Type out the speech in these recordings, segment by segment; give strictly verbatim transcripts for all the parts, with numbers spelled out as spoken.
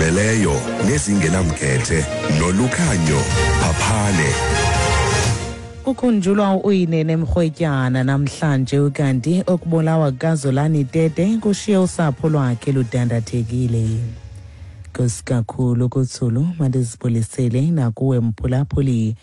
Ezigqibeleleyo nezingenamkhethe noLukhanyo Phaphane. Kukhunjulwa uUyinene Mrwetyana namhlanje, ukanti okubulawa kukaZolani Tete kushiye usapho lwakhe ludandathekile. Nkosi kakhulu kuThulu, mandizibulisele nakuwe mphulaphuli.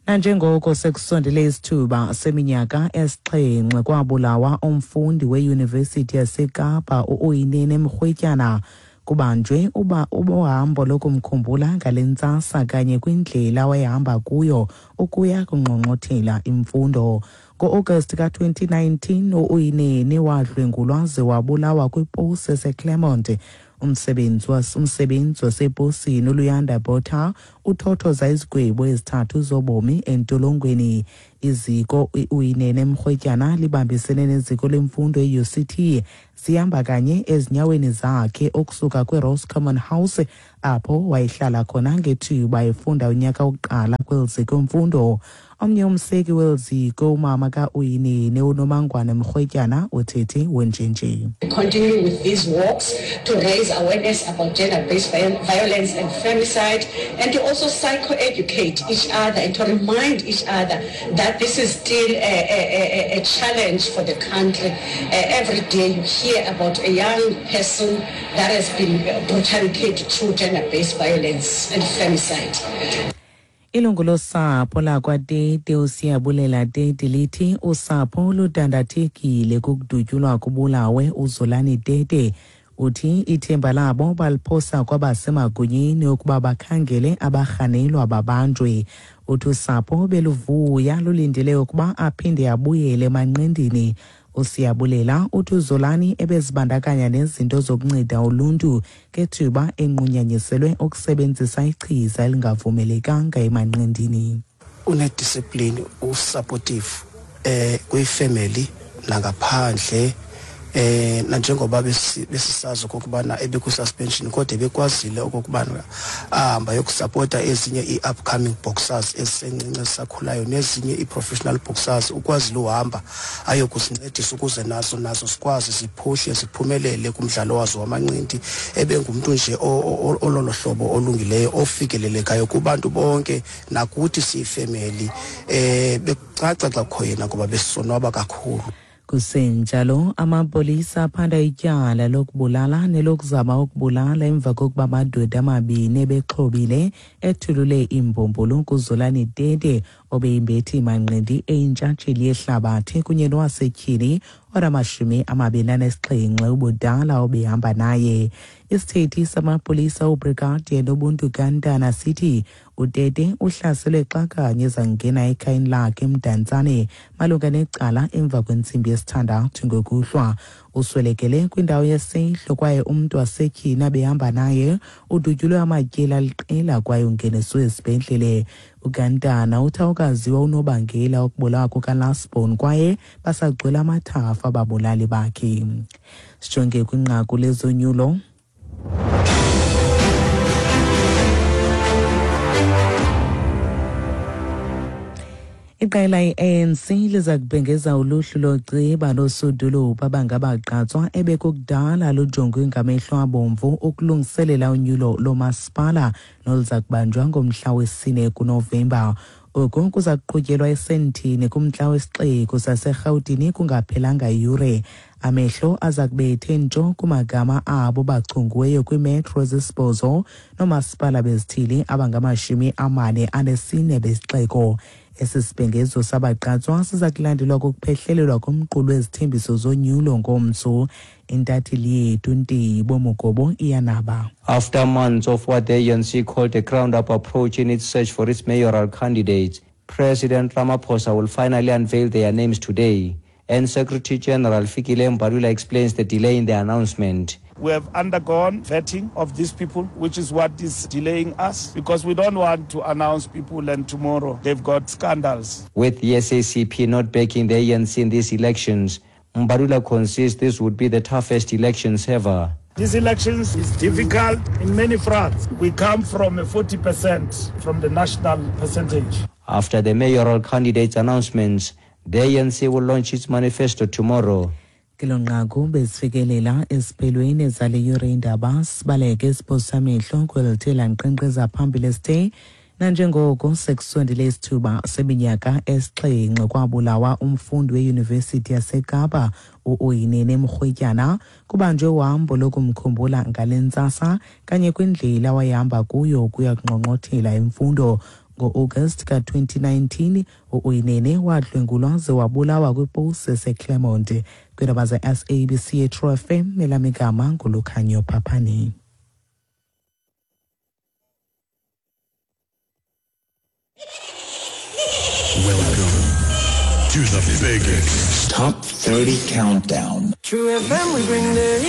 Nanjengoko sekusondele isithuba seminyaka esixhenxe kwabulawa umfundi weyunivesithi yaseKapa uUyinene Mrwetyana, kubanjwe uba uhambo lokumkhumbula ngale ntsasa kanye kwindlela wayehamba kuyo ukuya kungqongqothela imfundo. Ngo-August ka-twenty nineteen uUyinene wadlwengulwa ze wabulawa kwiposi yaseClermont. Umsebenzi was-, umsebenzi waseposini uLuyanda Botha uthothoza izigwebo ezithathu zobomi entolongweni. Iziko uUyinene Mrwetyana libambisene neziko lemfundo e-U C T zihamba kanye ezinyaweni zakhe ukusuka kwiRoscommon House apho wayehlala khona ngethuba efunda unyaka wokuqala kweli ziko mfundo. Omnye umseki weli ziko, umama ka-Uyinene uNomangwane Mrwetyana, uthethe wenjenje. Continuing with these walks to raise awareness about gender-based violence and femicide, and to also psychoeducate each other and to remind each other that this is still a, a, a, a challenge for the country. Uh, every day you hear about a young person that has been brutally killed through gender-based violence and femicide. Ilungu losapho lakwaTete uSiyabulela Tete lithi usapho ludandathekile kukudutyulwa kubulawe uZolani Tete. Uthi ithemba labo baliphosa kwabasemagunyeni ukuba bakhangele abarhanelwa babanjwe. Uthi usapho beluvuya lulindele ukuba aphinde abuyele emanqindini. uSiyabulela uthi uZolani ebezibandakanya nezinto zokunceda uluntu ngethuba enqunyanyiselwe ukusebenzisa ichiza elingavumelekanga emanqindini. Unediscipline, usupportive eh kwifamily nangaphandle, eh nanjengoba besisazi okokubana ebeku-suspension kodwa ebekwazile okokubana ahamba yokusupporta ezinye i-upcoming boxers ezisencinci ezisakhulayo nezinye i-professional boxers, ukwazile uhamba ayokuzincedisa ukuze nazo nazo sikwazi ziphuhle ziphumelele kumdlalo wazo wamanqindi. Ebengumntu nje ololo hlobo olungileyo ofikelelekayo kubantu bonke nakuthi siyifemeli, eh bekucaca xa kukho yena ngoba besonwaba kakhulu. Kusenjalo, amapolisa aphanda ityala lokubulala nelokuzama ukubulala emva kokuba amadoda amabini ebexhobile ethulule iimbombolo kuZolani Tete obeyimbethi manqindi eyintshatsheli yehlabathi kunye nowasetyhini onamashumi amabini anesixhenxe ubudala obehamba naye. Isithethi samapolisa uBrigadier Nobuntu Gantana sithi uTete uhlaselwe xa kanye ezangena ekhayeni lakhe eMdantsane malunga necala emva kwentsimbi yesithandathu ngokuhlwa. Uswelekele kwindawo yesehlo kwaye umntu wasetyhini abehamba naye udutyulwe amatyeli aliqela kwaye ungeniswe esibhedlele. uGantana uthi awukaziwa unobangela wokubulawa kukaLasbon kwaye basagcwele amathafa ababulali bakhe. Sijonge kwinqaku lezonyulo. Iqela i-A N C liza kubhengeza uluhlu loceba losodolophu abangabagqatswa ebekukudala lujongwe ngamehlo abomvu ukulungiselela unyulo lomasipala noluza kubanjwa ngomhla wesine kuNovemba. Oku kuza kuqhutyelwa esentini kumntla wesixeko saseRhawutini kungaphelanga yure. Amehlo aza kubethe ntsho kumagama abo bachongiweyo kwiimetro zesibhozo noomasipala bezithili abangamashumi amane anesine besixeko. Esi sibhengezo sabagqatswa siza kulandelwa kukuphehlelelwa komqulu wezithembiso zonyulo ngomso. Intatheli yethu Ntibo Mogobo iyanaba. After months of what the A N C called a ground-up approach in its search for its mayoral candidates, President Ramaphosa will finally unveil their names today. And Secretary General Fikile Mbalula explains the delay in the announcement. We have undergone vetting of these people, which is what is delaying us, because we don't want to announce people and tomorrow they've got scandals. With the S A C P not backing the A N C in these elections, Mbalula concedes this would be the toughest elections ever. These elections is difficult in many fronts. We come from a forty percent from the national percentage. After the mayoral candidates' announcements, the A N C will launch its manifesto tomorrow. Kelo nqaku bezifikelela esiphelweni zale yure indaba. Sibaleke siphosa amehlo kwelithe lanqenqeza phambili esithe nanjengoko sekusondele isithuba seminyaka esixhenxe kwabulawa umfundi weyunivesithi yaseKapa u-Uyinene Mrwetyana, kubanjwe uhambo lokumkhumbula ngale ntsasa kanye kwindlela awayehamba kuyo ukuya kunqonqothela imfundo. Ngo-August ka-twenty nineteen u-Uyinene wadlwengulwa ze wabulawa kwiposi yaseClermont. Kwiindaba ze-S A B C True F M, elam igama nguLukhanyo Phaphane. Welcome to the biggest Top thirty Countdown. True F M, we bring the